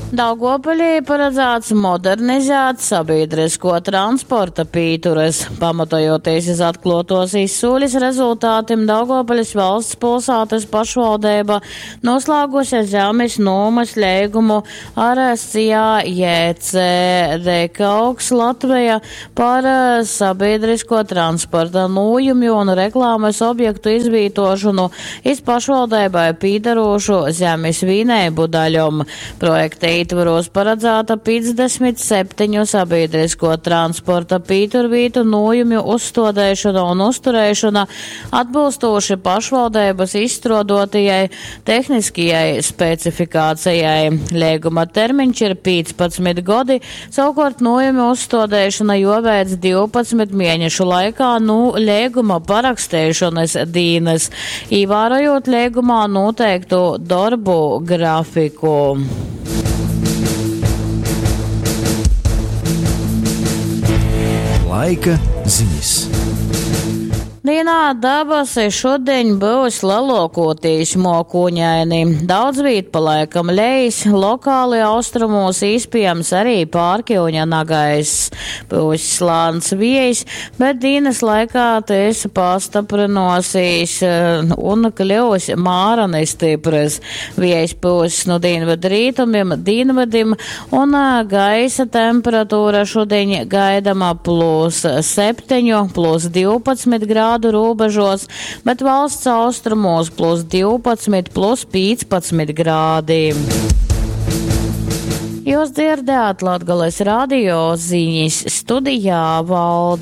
Daugovpilī paradzāts modernizēt sabīdryskuo transporta pīturys. Pamatojoties iz atkluotuos izsūlis rezultatim, Daugovpiļs valsts pilsātys pašvaldeiba noslāguse zemis nūmys leigumu ar SIA JC Dekaugs Latveja par sabīdryskuo transporta nūjumju un reklāmys objektu izvītuošonu iz pašvaldeibai pīdarūšu zemis vīneibu daļom. Projekta ītvorūs paradzāta 57 sabīdryskuo transporta pīturvītu nūjumju uzstuodeišona un uztureišona atbylstūši pašvaldeibys izstruoduotajai tehniskajai specifikācejai. Leiguma termiņš ir 15 godi, savukuort nūjumju uzstuodeišona juoveic 12 mienešu laikā nu leiguma paraksteišonys dīnys, īvārojūt leigumā nūteiktu dorbu grafiku. Laika zinis. Dīnā dabasi šudiņ byus leluokūtīs muokūņaini. Daudzvīt pa laikam leis, lokāli austrumūs īspiejams arī pārkiuņa nagaiss. Pyuss lāns viejs, bet dīnys laikā tys pastaprynuosīs un kļyus mārani styprys. Viejs pyuss nu dīnvydrītumim, dīnvydim, un gaisa temperatūra šudiņ gaidama plus 7, plus 12 grādu rūbežos, bet valsts austrumos plus 12, plus 15 grādi. Jūs dzirdējāt Latgales radio ziņas studijā Valda.